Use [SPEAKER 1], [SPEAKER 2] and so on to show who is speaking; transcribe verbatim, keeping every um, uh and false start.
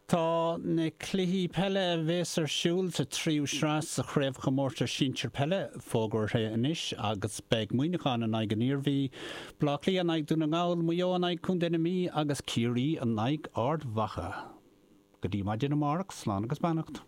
[SPEAKER 1] Tá na cluichí peile a bheas ar siúl sa tríú sraith sa chraobhchomórtas sinsir peile fógartha anois agus beidh Muineachán in aghaidh an Iarmhí, Bleá Cliath in aghaidh Dún na nGall, Maigh Eo in aghaidh Contae na Mí agus Ciarraí in aghaidh Ard Mhacha. Go dtí maidin amárach, slán agus beannacht.